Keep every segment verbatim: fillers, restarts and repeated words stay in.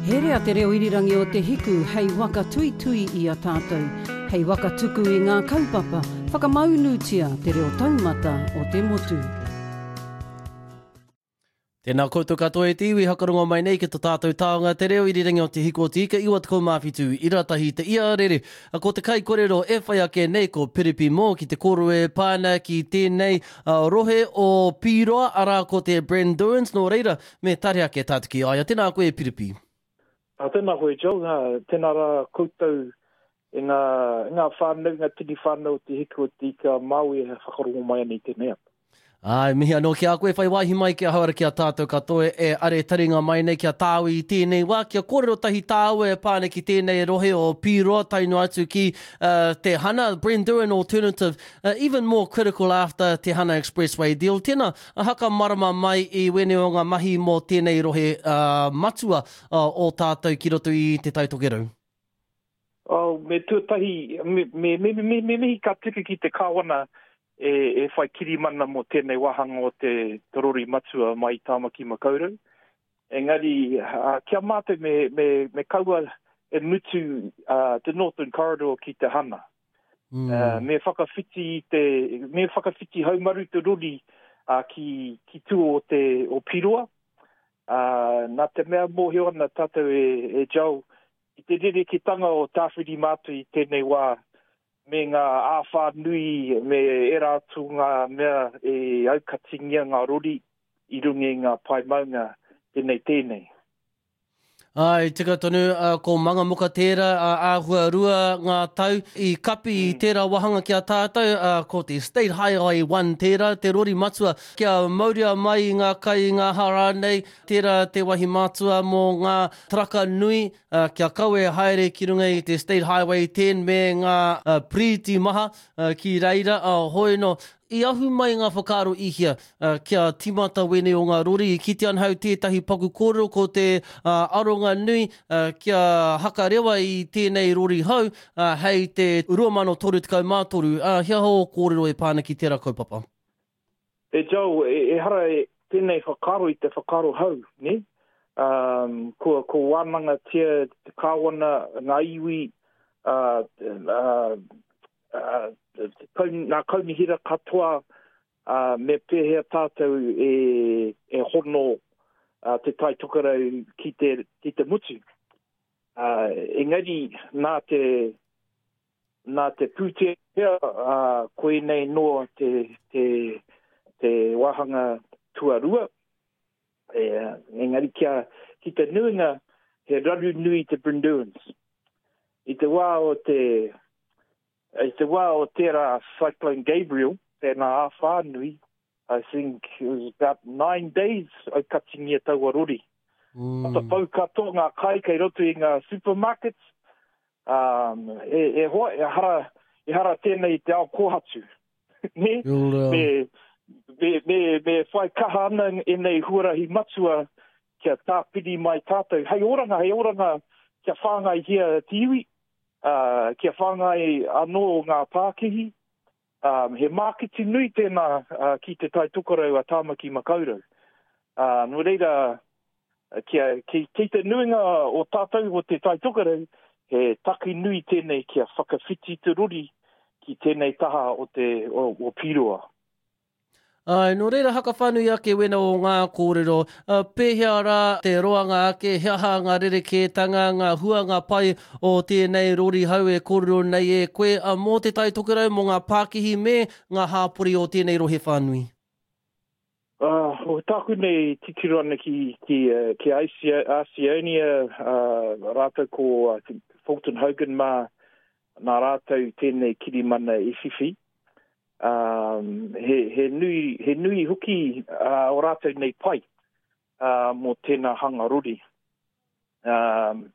Herea te reo irirangi o Te Hiku hei waka tuitui i a tātou, hei waka tuku i ngā kaupapa, whakamaunutia te reo taumata o te motu. Tēnā koutou katoa e te iwi hakarongo mai nei ki to tātou taonga te reo irirangi o Te Hiku o Te Ika iwa tekau mā whitu ira tahi te ia rere. Ko te kaikorero e whai ake nei ko Piripi Moore ki te kōrero e pā ana ki tēnei uh, rohe o Pīroa, arā ko te Brynderwyns, nō reira me tare ake tātou ki a ia. Tēnā koe e Piripi. Uh, tēnā koe Joe, uh, tēnā rā koutou e ngā, e ngā whānau, ngā tini whānau o Te Hiku o Te Ika Māui e whakarongo mai ana i tēnei ata. Ai, mihi anō ki a koe, whai wāhi mai ki ahau ara ki a tātou katoa e are taringa mai nei ki a tāu i tēnei wā, kia kōrero tahi tāua e pā ana ki tēnei rohe o Pīroa tae noa atu ki uh, Te Hana, Brynderwyn Alternative, uh, even more critical after Te Hana Expressway deal. Tēnā, haka marama mai i wēnei o ngā mahi mō tēnei rohe uh, matua uh, o tātou ki roto i Te Tai Tokerau. Oh, me tuatahi, me, me, me, me, me mihi ka tika ki te kāwana e, e whai kirimana mō tēnei wāhanga o te, te rori matua mai i Tāmaki Makaurau. Engari, uh, kia mātou me, me, me kaua e mutu uh, te Northern Corridor ki te Hana. Mm. Uh, me whakawhiti te, me whakawhiti haumaru te rori uh, ki, ki tua o te o Piroa. Uh, nā te mea mōhio ana tātou e, e Joe, i te rereketanga o Tāwhirimātea i tēnei wā, me ngā āwhā nui, me ērā atu ngā mea e aukatingia ngā rori i runga i ngā pae maunga tēnei tēnei. Ai, tika tonu, uh, ko Mangamuka tērā, uh, āhua rua ngā tau i kapi i mm. tērā wāhanga ki a tātou, uh, ko te State Highway one tērā, te rori matua, kia mauria mai i ngā kai i ngā hara nei, tērā te wahi matua mō ngā traka nui, uh, kia kawe haere ki runga i te State Highway ten me ngā uh, prīti maha uh, ki reira, uh, hoi no, i ahu mai ngā whakaaro i hea, uh, kia timata wēnei o ngā rori, i kite anhau tētahi paku kōrero ko te uh, aronga nui uh, kia hakarewa i tēnei rori hou uh, hei te rua mano toru tekau mā toru. Uh, he aha ō kōrero e pā ana ki tērā kaupapa? E Joe, e, ehara e tēnei whakaaro i te whakaaro hou, ne? Um, ko, ko wānangatia te kāwana, ngā iwi, uh, uh, uh, ngā kaunihera katoa, uh, me pēhea tātou e, e hono uh, te Tai Tokerau ki te, ki te mutu. Uh, engari, nā te, nā te pūtea, uh, koinei noa te, te, te wāhanga tuarua. E, engari kia, ki te nuinga, he raru nui te Brynderwyns. I te wā o te, i te wā o tērā Cyclone Gabriel, tēnā āwhā nui, I think it was about nine days aukatingia taua rori. Mm. Matapau katoa ngā kai kei roto i ngā supermarkets. Um, e, e hoa, e hara, e hara tēnei te ao kōhatu. Ne? Me, me, me, me whai kaha ana ēnei huarahi matua kia tāpiri mai tātou. Hei oranga, hei oranga kia whāngaihia te iwi, uh, kia whāngai anō ngā pākihi. Um, he māketi nui tēnā uh, ki te Tai Tokerau a Tāmaki Makaurau. Uh, nō reira, kia, ki, ki te nuinga o tātou o te Tai Tokerau, he taki nui tēnei kia whakawhiti te rori ki tēnei taha o te o, o Pīroa. Ai, nō reira hakawhānui ake wena o ngā kōrero, uh, pēhea rā te roanga ake, he aha ngā rerekētanga, ngā hua, ngā pai o tēnei rori hau e kōrero nei e koe, uh, mō te Tai Tokerau, mō ngā pākihi me ngā hāpori o tēnei rohe whānui? Uh, o tāku nei titiro ana ki, ki, uh, ki Asionia, uh, rātou ko uh, Fulton Hogan mā, nā rātou tēnei kirimana i whiwhi. Um, he, he nui, he nui hoki uh, o rātou nei pai uh, mō tēnā hanga rori. Um,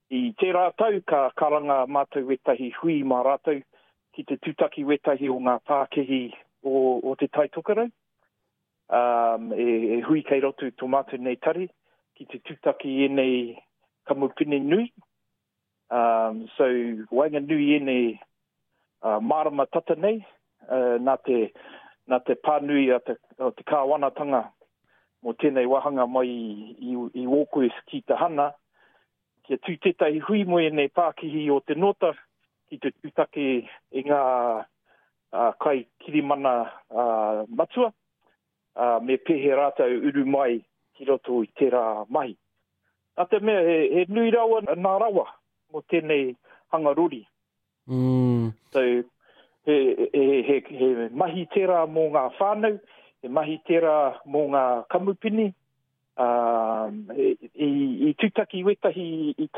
i tērā tau ka karanga mātou wetahi hui mā rātou ki te tūtaki wetahi o ngā pākihi o, o te Tai Tokerau. Um, e, e hui kei roto tō mātou nei tari ki te tūtaki ēnei kamupene nui. Um, so, waenganui ēnei Uh, marama tata nei, uh, nā te, nā te pānui a te, o te kāwanatanga mō tēnei wāhanga mai i, i Warkworth ki Tahana, kia tū tētahi hui mō ēnei pākihi o te nōta ki te tūtaki i ngā uh, kai kirimana uh, matua, uh, me pēhe rātou uru mai ki roto i tērā mahi. Nā te mea, he, he nui rawa nā rawa mō tēnei hanga rori. Mm. So, he, he, he, he mahi tērā mō ngā whānau, he mahi tērā mō ngā kamupini, uh, i, i, i tūtaki wetahi i